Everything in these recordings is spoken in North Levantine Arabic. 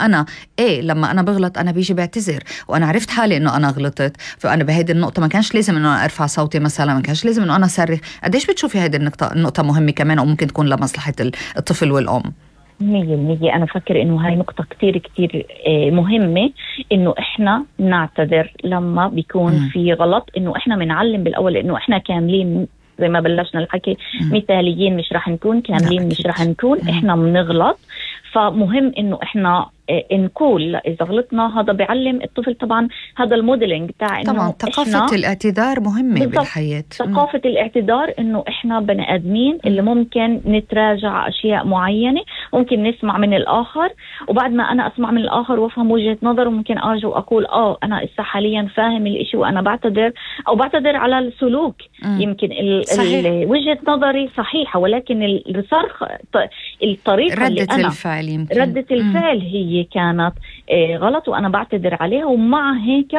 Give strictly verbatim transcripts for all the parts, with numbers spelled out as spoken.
أنا إيه لما أنا بغلط أنا بيجي بعتذر وأنا عرفت حالي إنه أنا غلطت، فأنا بهيدي النقطة ما كانش لازم إنه أنا أرفع صوتي مثلا، ما كانش لازم إنه أنا أصرخ. قديش بتشوفي هيدي النقطة النقطة مهمة كمان وممكن تكون لمصلحة الطفل والأم؟ مية المية أنا فكر إنه هاي نقطة كتير كتير مهمة، إنه إحنا نعتذر لما بيكون م. في غلط، إنه إحنا منعلم بالأول إنه إحنا كاملين زي ما بلشنا الحكي، م. مثاليين مش رح نكون كاملين، مش رح نكون م. إحنا بنغلط. فمهم إنه إحنا نقول إذا غلطنا، هذا بيعلم الطفل طبعا، هذا الموديلينج تاع إنه طبعا ثقافة الاعتذار مهمة بالحياة. ثقافة الاعتذار إنه إحنا بني آدمين اللي ممكن نتراجع أشياء معينة، ممكن نسمع من الآخر، وبعد ما أنا أسمع من الآخر وأفهم وجهة نظر ممكن أرجع وأقول آه أنا إسا حاليا فاهم الإشي وأنا بعتذر، أو بعتذر على السلوك. م. يمكن ال ال وجهة نظري صحيحة، ولكن الصرخ الطريقة ردة اللي أنا الفعل يمكن. ردة الفعل م. هي كانت غلط وأنا بعتذر عليها، ومع هيك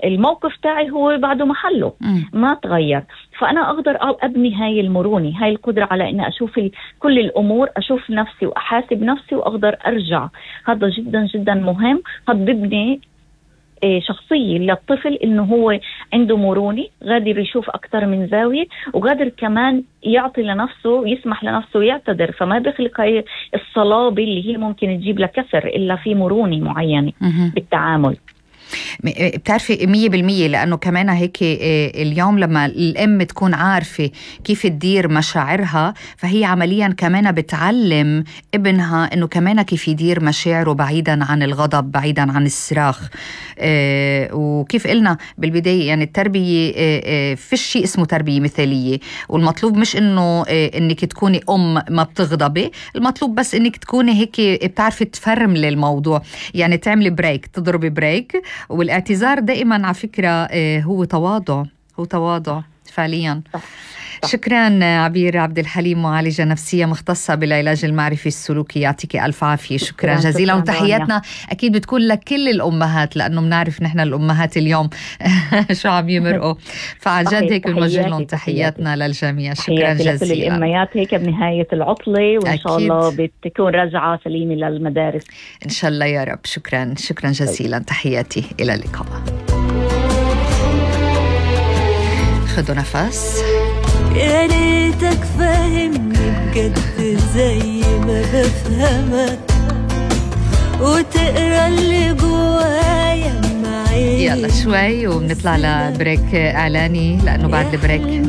الموقف تاعي هو بعده محله م. ما تغير. فأنا أقدر أبني هاي المرونة، هاي القدرة على أن أشوف كل الأمور، أشوف نفسي وأحاسب نفسي وأقدر أرجع. هذا جدا جدا مهم. هذا ببني شخصية للطفل إنه هو عنده مرونة، قادر يشوف أكتر من زاوية، وقادر كمان يعطي لنفسه، يسمح لنفسه يعتذر. فما بيخلق هاي الصلابة اللي هي ممكن تجيب لكسر، إلا في مرونة معينة بالتعامل. بتعرفي مية بالمية، لأنه كمان هيك اليوم لما الأم تكون عارفة كيف تدير مشاعرها، فهي عمليا كمان بتعلم ابنها إنه كمان كيف يدير مشاعره بعيدا عن الغضب، بعيدا عن الصراخ. وكيف قلنا بالبداية يعني التربية في شيء اسمه تربية مثالية، والمطلوب مش إنه إنك تكوني أم ما بتغضبي، المطلوب بس إنك تكوني هيك بتعرفي تفرملي الموضوع، يعني تعملي بريك، تضربي بريك. والاعتذار دائما على فكرة هو تواضع، هو تواضع فعليا. شكرا عبير عبد الحليم، معالجة نفسية مختصة بالعلاج المعرفي السلوكي، يعطيك ألف عافية. شكرا, شكرا جزيلا. وتحياتنا أكيد بتكون لكل الأمهات، لأنه بنعرف نحن الأمهات اليوم شو عم يمرقوا، فعن جد هيك بنوجه لهم تحياتنا للجميع. شكرا جزيلا لكل الأمهات هيك بنهاية العطلة، وإن شاء الله بتكون رجعة سليمة للمدارس إن شاء الله يا رب. شكرا شكرا جزيلا. تحياتي، إلى اللقاء. خذوا نفس. يا ريتك فاهمني بجد زي ما بفهمك، وتقرا اللي جوايا معايا. يلا شوي وبنطلع لبريك إعلاني، لأنه بعد البريك